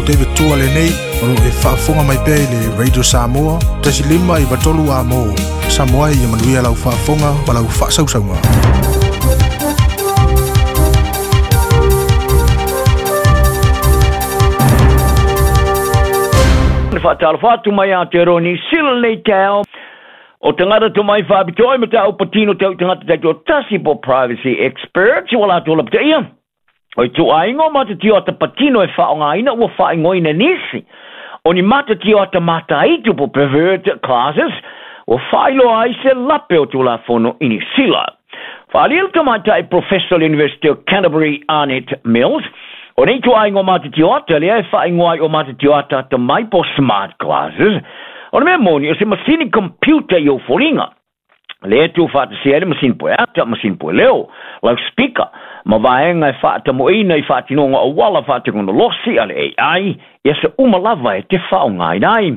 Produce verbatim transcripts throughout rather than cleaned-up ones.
David Tua lenei, o lo e faafofoga mai pea i le Radio Samoa, tasi lima iva tolu a mo, Samoa ia manuia lau faafofoga ma lau faasausauga. Whaatalofa atu mai Aotearoa New Zealand nei tau. O tangata to mai whaapitoa ma tau patino tau tangata taito tasi po privacy experts o la tola pita ia. O i tu aingo mata tio ata patino e whaongaina ua whaingoina nisi. O ni mata tio ata mataitu po pervert classes o whailoa ai se lape o tulafono i New Zealand. Whaalil ka maitai Professor University of Canterbury Arnett Mills. O nei tu aingo mata tio ata lea e whaingoai o mata tio ata ata mai po smart classes. O le mea moni o se masini computer i o foringa. Le tu whaatasia le masini poe ata, masini poe leo, loudspeaker, ma vaenga e whaatamoina i whaatinonga o wala whaatekonolosi a le A I, ia se umalava e te whaongaina ai.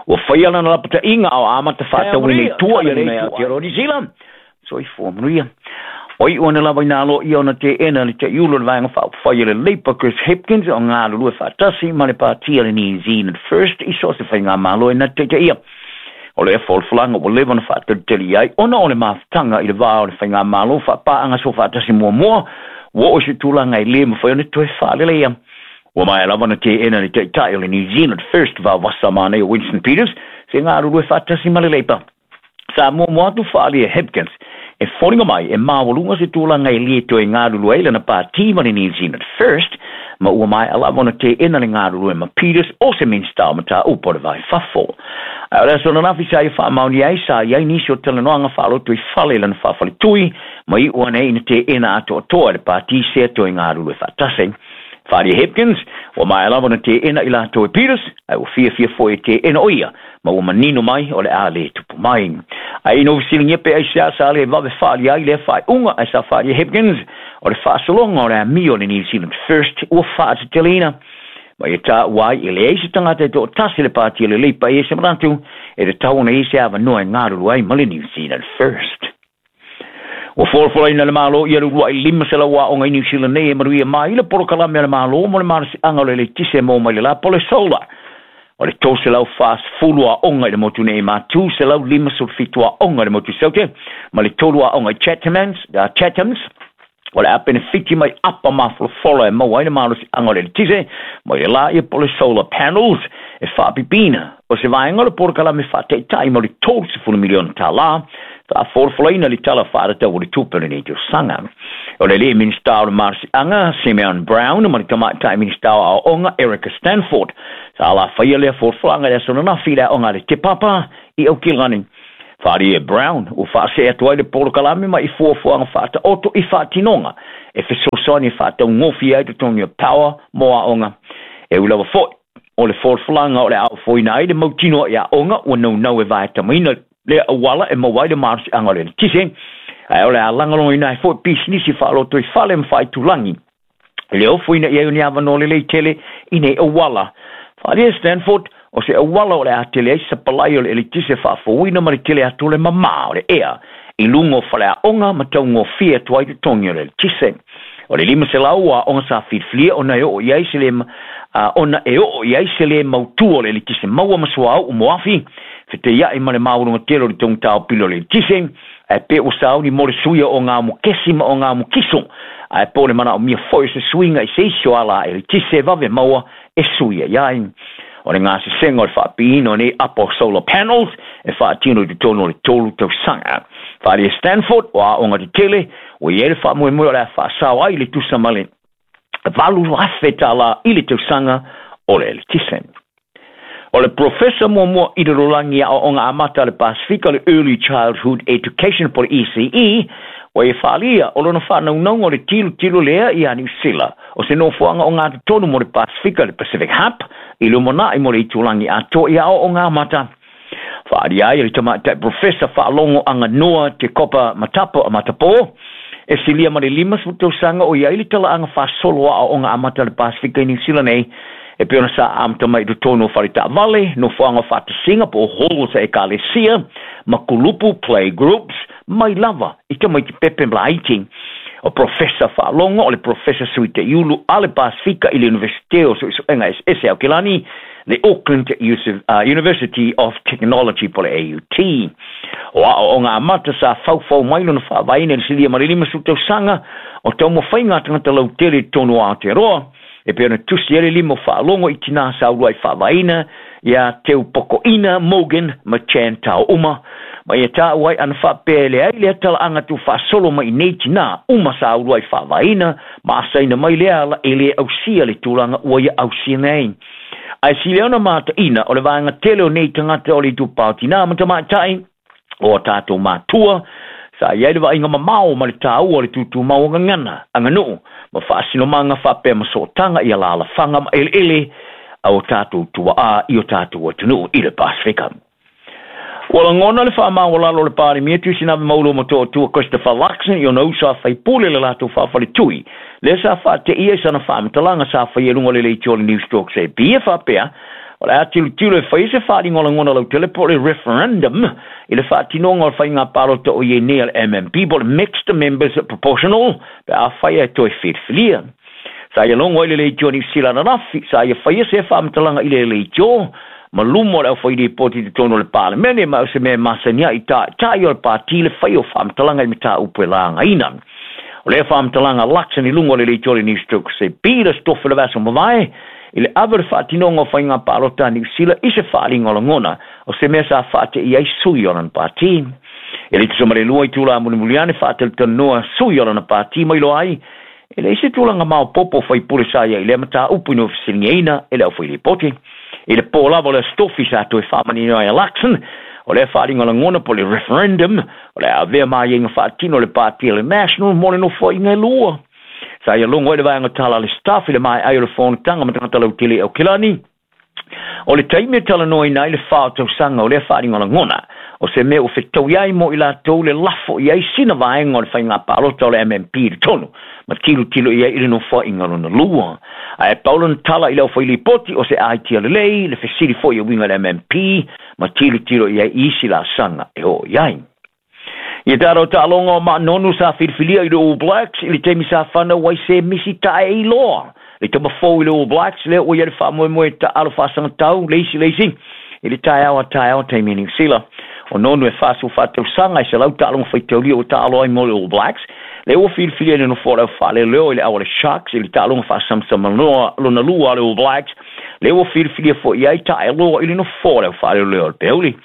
Ua whaiala na lapata inga au amata whaatawine i tua i le Aotearoa New Zealand. So i fua manuia. O i uana lava ina alo ia ona te ena le te iulo le vaenga whaawhai le Labour Chris Hipkins o ngā lulue whaatasi ma le pātia le New Zealand First i so se whai ngā malo e na te te ia. O le wholwhalanga o lewa na whaataliteli ai ona o le mawhtanga i le vā o le whai ngā malo whaapaanga so whaatasi mua mua wa o se tūlanga i le mawhai o ne toe whaalele ia. Ua mai lava na te ena le te tai o le New Zealand First vā wasa mānei o Winston Peters se ngā lulue whaatasi ma le Labour. Sa mua mua atu whaali e Hipkins e whoringa mai e mawalunga se tūlanga i lie toe ngāruru ai lana pāti ma le New Zealand First ma ua mai alava ona te ena le ngāruru e ma Peters o se minsta o mata upo le vai fafo. A ora sona lafi sa i whaamauni ai sa i ai nisi o talanoanga whaaloto i whale lana whawhale tui ma i ua nei ina te ena atoa toa le pāti sea toe ngāruru e whaatase. Wharia Hipkins, ua mai alava na te ena i la toe Peters, ai ua fia fia foi e te ena o ia, ma ua manino mai o le a le tupu mai. Ai ino wisilingia pe ai sea sa le wawe whaali ai le whai unga ai sa Wharia Hipkins, o le whaasalonga o le amio le New Zealand First ua whaatatelina. Ma i tā wai i le eisi tangata e tō tasi le pāti le leipa i e se marantu, e te tauna i se awa noa e ngāruru ai ma le New Zealand First. Ua folafola le malo ia rua i lima se laua o ngai New Zealand nei e maruia mai le porokalame a le malo mo le marasianga o le letise mo mai le la pole solar. O le tō se lau fas fulu a onga i le motu nei ma tū se lau lima sulfitu a onga i le motu saute ma le tolu a onga i Chathams, uh, Chathams. O le apene fiti mai apa mafolafola e maua i le marasianga o le letise mo le la ia pole solar panels e whaapipina. O se vaenga o le porokalame whaateitai mo le tō se fulu miliona tā la. Ta folaina le tala whaarata o le tupe le nei tausaga. O le le minista o le marasianga Simeon Brown ma le tamaitai minista o aoga Erica Stanford. Sa ala whaia lea folafolanga le aso nanafi le aoga le Te Papa i Aukilani. Wharia Brown o whaasea atu ai le porokalame ma i fuafuaga whaataoto i whaatinonga e fesoasoani e whaataungofi ai totogi o power mo aoga. E ulawa foi o le folafolanga o le aofoina ai le mautino i aoga ua naunau e vaetamaina le awala e mawai le marasianga o le letise. Ai o le alangalonga ai foi pisinisi whaaloto i whale ma whaitulangi. Le ofuina i au ni awano le leitele i nei awala. Wharia Stanford o se awala o le atele ai sapalai o le letise whaafouina ma le tele atu le mamā o le ea. I lungo whale aonga ma taungo fia tuai te tongi o le letise. O le lima se lau a onga sa filfilia o na e o i ai se le, uh, ona e o i ai se le mautu o le letise maua masua au moafi. Fete ia i ma le maurunga telo le tongi tau pilo le letise. Ai pe o sauni mo le suia o ngā mukesi ma o ngā mukiso. Ai po le mana o mia foi se suinga i se isio ala e letise vave maua e suia iai. O le ngā sesenga o le whaapiino nei apo solar panels e whaatino i te tono o le tolu tausaga. Wharia Stanford o aonga te tele o i ele whaamoemoe o le a whaasao ai le tusa ma le valu afe tāla i le tausaga o le letise. O le professor mua i le rolangi a aoga amata le Pasifika le Early Childhood Education po le E C E o e whaalia o lona whanaunauga o le tilo tilo lea i a New Zealand. O se nofoanga o ngā tonu mo le Pasifika le Pacific Hub i lumona i mo le itulangi atoa i aoga amata. Whaaria ai le tamaitai professor whaalongo anga noa te kopa matapo a matapo. E silia ma le lima sefulu tausaga o iai le talaaga faasolo aoaoga amata le Pasifika i New Zealand nei. E pe ona sa amata mai i totonu o faletaavale, nofoaga o faatasiga po o halls a ekalesia, ma kulupu play groups, mai lava i tamaiti pepe ma laiti. O Professor Faalogo o le Professor Sui Te Iulu a le Pasifika i le Universite o Suesuega Eseese Aokelani, le Auckland University of Technology po le A U T. O aoaoga amata sa faufau mai lona faavaeina i le silia ma le limasefulu tausaga o taumafaiga a tagata lautele i totonu o Aotearoa, e pei ona tusi ai le lima o Faalogo i tinā sa uluai faavaeina ia Teupokoina Morgan ma Chan Tao uma, ma ia taua ai ana faapea e leai lea talaaga tuufaasolo mai i nei tinā uma sa uluai faavaeina ma asaina mai lea ala e lē ausia le tulaga ua ia ausia nei. Ae sili ona mataina o le vaega tele o nei tagata o le itupā o tinā ma tamaitai o a tatou matua sa iai le vaaiga mamao ma le tāua o le tutumau o gagana aganuu ma faasinomaga faapea ma sootaga i alalafaga ma eleele a o tatou tuaā i o tatou atunuu i le Pasifika. Ua lagona le faamaualalo o le Palemia Tuisinave Maulo ma Toatua Christopher Luxon i ona uso a faipule le latou faafaletui lea sa faateia i sana faamatalaga sa faia i luga o le leitio o le News Talk C B e faapea o le a tilotilo e faia se faaaliga o lagona lautele po o le referendum i le faatinoga o le faiga palota o iai nei a le M M P po o le Mixed Members Proportional pe a faia e toe filifilia. Sa ia logo ai le leitio Niu Sila ananafi sa ia faia se faamatalaga i le leitio ma luma o le aufailipoti i totonu o le Palemene ma o se mea masani ai taʻitaʻi o le pati le faia o faamatalaga i mataupu e lagaina. O lea faamatalaga Luxon i luga o le leitio o le News Talk C B le Aso Tofi o le vaiaso mavae i le ave o le faatinoga o faiga palota a Niu Sila i se faaaliga o lagona o se mea sa faateia ai sui o lana pati. E le tusa ma le lua i tula mulimuli ane faatalatalanoa sui o lana pati mai loa ai e leai se tulaga maopoopo faipule sa ia i lea mataupu ina ua fesiligiaina e le aufailipoti. I le pō lava o le Aso Tofi sa toe faamanino ai a Luxon o lea faaaliga o lagona po o le referendum o le a avea maiaiga faatino o le pati a le National mo le nofoaiga e lua. Sa ia logo ai le vaega tala a le staff i le maeai o le fonotaga ma tagata lautele i Aokelani. O le taimi e talanoaina ai le fa o tausaga o lea faaaliga o lagona o se mea ua fetaui ai mo i latou le lafo i ai sina vaega o le faiga palota o le M M P i totonu ma tilotilo i ai i le nofoaiga lona lua. Ae pau lona tala i le aufailipoti o se aitia lelei le fesili foi e uiga i le M M P ma tilotilo i ai i isi laasaga e oo i ai. Ia tatou taaloga o Ma'a Nonu sa filifilia i le All Blacks i le taimi sa fanau ai se misi tae iloa. Le tamafou i le All Blacks lea ua ia le faamoemoe taalo faasagatau le isi le isi i le taeao a taeao taimi Niu Sila. O Nonu e faasu faatausaga i selau taaloga faitaulia ua taalo ai mo le All Blacks. Le ua filifilia i le nofoa o le aufaaleleo i le au a le Sharks i le taaloga faasamsamanoa lona lua a le All Blacks. Le ua filifilia foi ai taeloa i le nofoa o le aufaaleleo o le Peuli.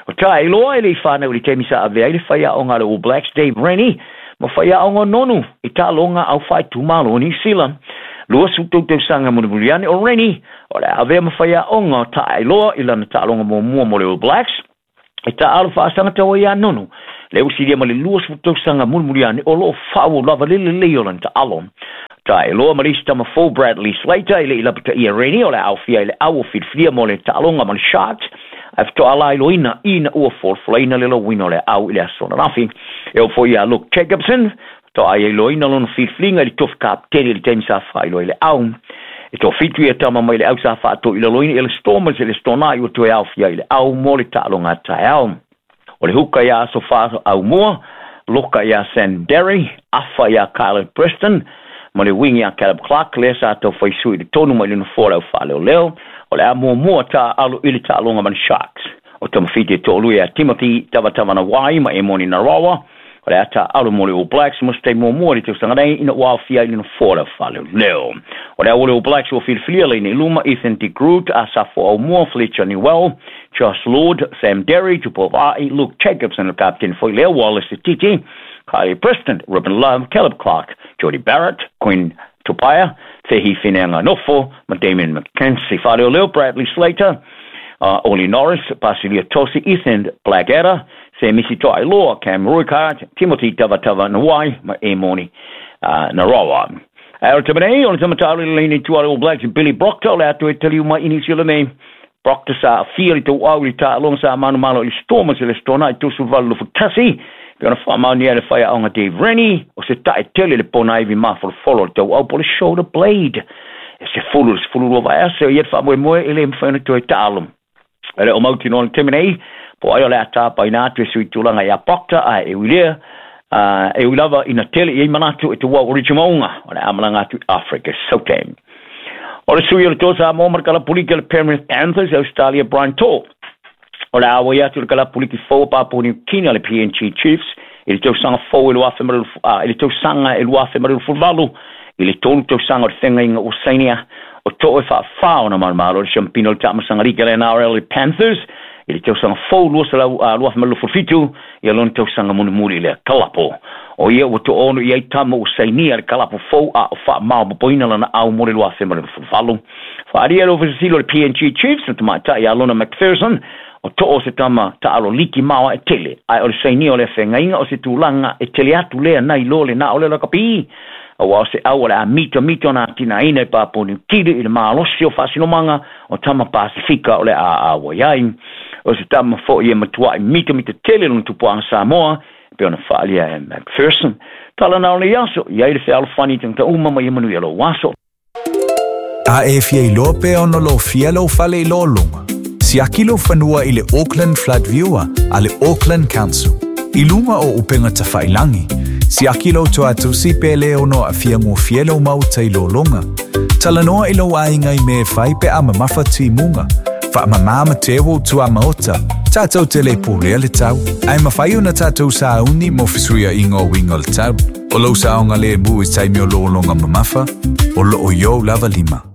O taeloa e le i whanau i le taimi sa avea i le whaiaonga a le All Blacks Dave Rennie ma whaiaonga o Nonu i taaloga au whaitumalo o Niu Sila. Lua su tautausaga mulimuli ane o Rennie o le avea ma whaiaonga o taeloa i lana taaloga muamua mo le All Blacks e taalo faasagatau ai ia Nonu. Le usilia ma le lua su tausaga mulimuli ane o loo faaauau lava le lelei o lana taalo. Taeloa ma le isi tamafou Bradley Slater i le i lapataia Rennie o le aofia i le au o filifilia mo le taaloga ma le Sharks ae fetoa iloina ina ua folafolaina le lauina o le au i le aso ananafi. E oo foi ia Luke Jacobson toa ai iloina lona filifiliga i le tofi kapeteni i le taimi sa faailoa i le au. E toafitu ia tama mai le au sa faatoilaloina i le Stormers i le Stornai ua toe aofia i le au mo le taaloga a taeao. O le huka ia Aso Fā Aumua, loka ia Sam Derry, afa ia Kylie Preston, ma le wingi ia Caleb Clark lea sa tau faisui i le tonu mai le nofoa o le aufaleoleo o le a muamua taalo i le taaloga ma le Sharks. O tamafiti e toalua ia Timothy Tavatavanawai ma Emoni Narawa o le a taalo mo le All Blacks mo se taimi muamua i le tausaga nei ina ua aofia i le nofoa o le aufaleoleo. O le au o le All Blacks ua filifilia laina i luma Ethan de Groot, Asafo Aumua, Fletcher Newell, Josh Lord, Sam Derry, Tupou Vaa'i, Luke Jacobson le kapeteni foi lea, Wallace Titi, Kylie Preston, Ruben Love, Caleb Clark, Jody Barrett, Quinn Tupaea, Fehi Fineanganofo ma Damien McKenzie. Faaleoleo Bradley Slater, uh, Ollie Norris, Basilia Tosi, Ethan Blackadder, Semisi Toailoa, Cam Roigard, Timothy Tavatavanawai ma Emoni uh, Narawa. Ae o le tamanei, o le tamatalo i le laini tua le All Blacks Billy Proctor o le atu e taliu mai i Niu Sila nei. Proctor sa afia i le tauau i le taaloga sa manumalo i le Stormers i le Stornai i tolusefulu valu lufutasi. Pe ona faamaonia le whaiaonga Dave Rennie o se tae tele le pona ivi mafolofolo o le tauau po le shoulder blade. E se fulu le sefulu lua vaiaso ia le faamoemoe e le mafai ona toe taalo. E le o mautinoa le taimi nei, po ai o le a tapaina atu e sui tulaga ia Proctor ae e ui lea Uh, e ui lava ina tele i ai manatu e te wau o Richimaunga o le amalanga atu i Afrika Sautame. O le sui o le tō Samoa ma le kalapuliki o le Penrith Panthers Australia Brian To'o. O le awa i atu le kalapuliki fou Papua New Guinea le P N G Chiefs i le tausaga fou e lua afe ma le uh, i le tausaga e lua afe ma le luafuvalu i le tolu tausaga o le fegaiga ua sainia o too e faafā ona malomalo le siampina o le taamasagalika le N R L le Panthers i le tausaga fou lua selau lua afe ma le luafufitu ia lona tausaga mulimuli i le kalapo. O ia ua to'ono i ai tama ua sainia le kalapo fou a o faamaopopoina lana au mo le lua afe ma le luafuvalu. Faalia le ofisasilo le P N G Chiefs na tamaita'i ia Lona McPherson o to'o se tama ta'alo liki maoa e tele ae o le sainia o le afegaiga o se tulaga e tele atu lea nai lo le na o le lakapi. Aua o se au o le a mito mito na tinaina i Papua Niu Kini i le malosi o faasinomaga o tama Pasifika o le a a ai. O se tama fo'i e matua'i mito mito tele lona tupuaga Samoa pe ona faalia e McPherson. Tala na o le aso, i ai le fealofani tagata uma ma ia manuia lou aso. A e fia iloa pea ona lou fia lou fale i lōloga. Siaki lou fanua i le Auckland Flood Viewer a le Auckland Council. I luga o upega tafailangi. Siaki lou toatusi pe le ono aafia gofie lou maota i lōloga. Talanoa i lou aiga i mea e fai pe a mamafa timuga. Faamamā ma teu o tuamaota. Tātou te le pulea le tau. Ae mafai ona tātou sauni mo fesuiaiga o uiga o le tau. O lou saogalemu i taimi o lōloga mamafa, o loo iou lava lima.